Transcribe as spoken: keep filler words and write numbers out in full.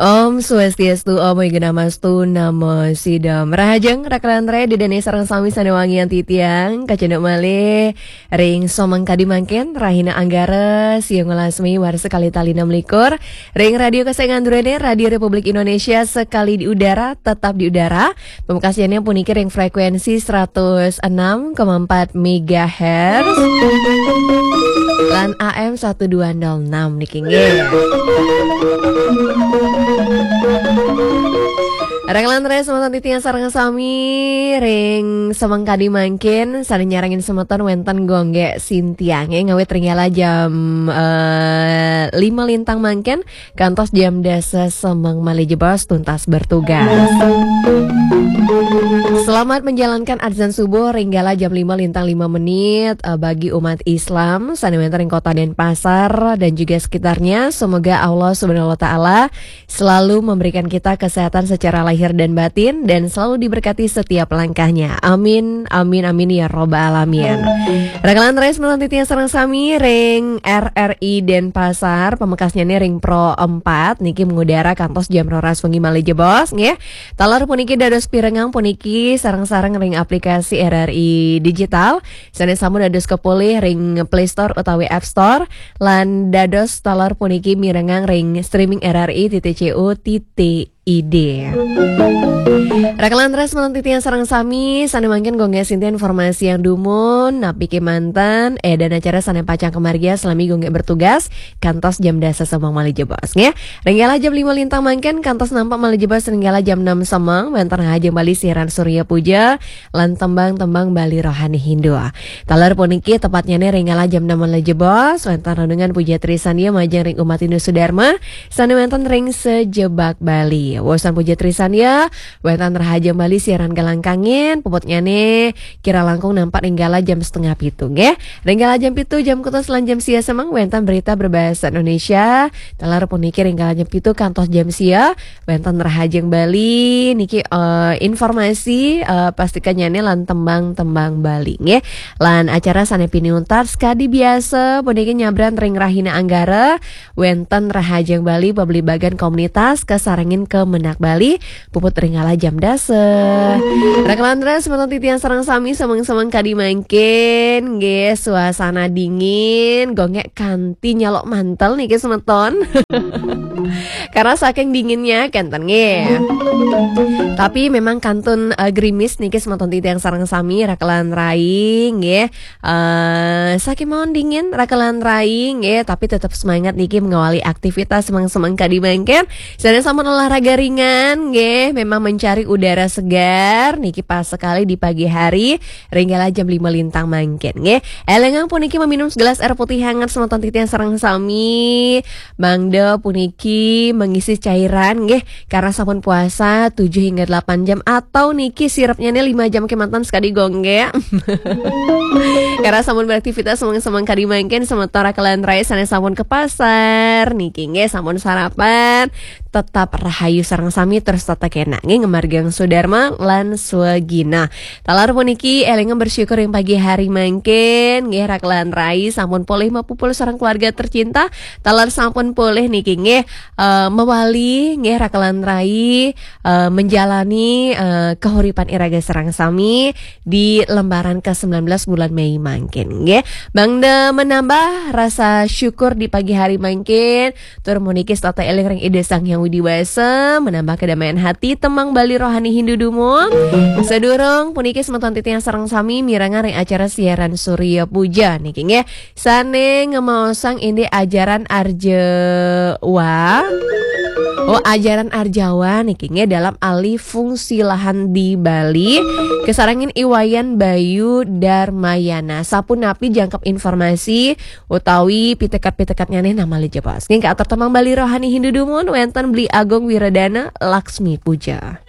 Om Swastiastu, Om Awighnamastu, Namo Siddham. Rahajeng, rakalan rai, ida dané sareng sami sané wangian titiang, kacunduk malih ring samangkadi mangkin, rahina Anggara, siang welas Mei, warsa kalih tali enam likur, ring Radio Kesayangan Duréné, Radio Republik Indonesia, sekali di udara, tetap di udara. Pamekasnyané puniki ring frekuensi seratus enam koma empat megahertz lan A M satu dua nol enam niki nggih. Rakalan rai semeton titiang sareng sami ring samangkadi mangkin sané nyarengin semeton wénten Gung Gék Sintiang nggih, ngawit ring kala jam eh, lima lintang mangkin kantos jam dasa semeng malih jebos tuntas bertugas. Selamat menjalankan azan subuh ring kala jam lima lintang lima menit eh, bagi umat Islam sané wénten ring Kota Denpasar dan juga sekitarnya. Semoga Allah Subhanahu wa taala selalu memberikan kita kesehatan secara lahir dan batin dan selalu diberkati setiap langkahnya. Amin, amin, amin ya robbal alamin. Rakalan rai semeton titiang sareng sami ring R R I Denpasar, pamekasnyané ring Pro empat niki mengudara kantos jam roras wengi malih jebos nggih. Taler puniki dados pirengang puniki sareng-sareng ring aplikasi R R I Digital sané sampun dados kapolih ring Play Store utawi App Store lan dados taler puniki mirengang ring streaming R R I titik C O titik I D. Rakalan rai semeton titiang sareng sami, sané mangkin Gung Gék Sintiang informasiang dumun, napi kémanten, édan acara sané pacang kamargiang salami Gung Gék bertugas, kantos jam dasa semeng malih jebos, nggih. Ring kala jam lima lintang mangkin, kantos nampak malih jebos ring kala jam enam semeng, wénten Rahajeng Bali siaran Surya Puja, lan tembang-tembang Bali Rohani Hindu. Taler puniki tepatnyané ring kala jam enam malih jebos, wénten renungan Puja Trisandya majeng ring umat Hindu Sudarma, sané wénten ring sajebag Bali. Wusan Puja Trisandya, wénten Rahajeng Bali siaran Galang Kangin, puputnyané kirang langkung nampak ring kala jam setengah pitu, nggih. Ring kala jam pitu, jam kutus lan jam sia semeng, wénten berita berbahasa Indonesia. Taler puniki ring kala jam pitu kantos jam sia, wénten Rahajeng Bali niki eh, informasi eh, pastikannyané lan tembang-tembang Bali nggih. Lan acara sané pinih untat sakadi biasa puniki nyabran ring rahina Anggara, wénten Rahajeng Bali pabligbagan komunitas kasarengin Kemenag Bali puput ring kala jam dasa. Rakalan rai semeton titiang sareng sami sameng-sameng kadi mangkin nggih, suasana dingin, Gung Gék kanti nyaluk mantel niki semeton. Karena saking dinginnya kénten nggih. Tapi memang kantun eh, grimis niki semeton titiang sareng sami rakalan rai nggih. Eh saking mawon dingin rakalan rai nggih, tapi tetap semangat niki mengawali aktivitas semeng-semeng kadi mangkin. Sané sampun olahraga ringan nggih, memang mencari udara segar niki pas sekali di pagi hari ring kala jam lima lintang mangkin nggih. Élingang puniki meminum segelas air putih hangat semeton titiang sareng sami. Mangda puniki mengisi cairan nggih, karena sampun puasa tujuh hingga delapan jam atau niki sirupnyané lima jam kémanten sakadi Gung Gék. Karena sampun beraktivitas semeng-semeng kadi mangkin semeton rakalan rai sané sampun ke pasar niki nggih, sampun sarapan, tetap rahayu sareng sami terus tetep kénak nggih ngamargiang sudarma lan swagina. Taler puniki élingang bersyukur ring pagi hari mangkin nggih, rakalan rai sampun polih mapupul sareng keluarga tercinta. Taler sampun polih niki nggih eh, mawali nggih rakalan rai eh, menjalani eh, kahuripan iraga sareng sami di lembaran ke sembilan belas bulan Mei mangkin nggih. Mangda menambah rasa syukur di pagi hari mangkin, tur puniki setata éling ring Ida Sang Hyang Widi Wasa, menambah kedamaian hati, tembang Bali Rohani Hindu dumun. Sadurung puniki semeton titiang sareng sami mirengang ring acara siaran Surya Puja niki nggih. Sané ngemaosang indik ajaran Arjawa. Oh, ajaran Arjawa niki nggih dalam alih fungsi lahan di Bali. Kasarengin I Wayan Bayu Darmayana. Sapunapi jangkep informasi utawi pitekat-pitekatnyané malih jebos. Nggih, katur tembang Bali Rohani Hindu dumun wénten Beli Agung Wiradana Laksmi Puja.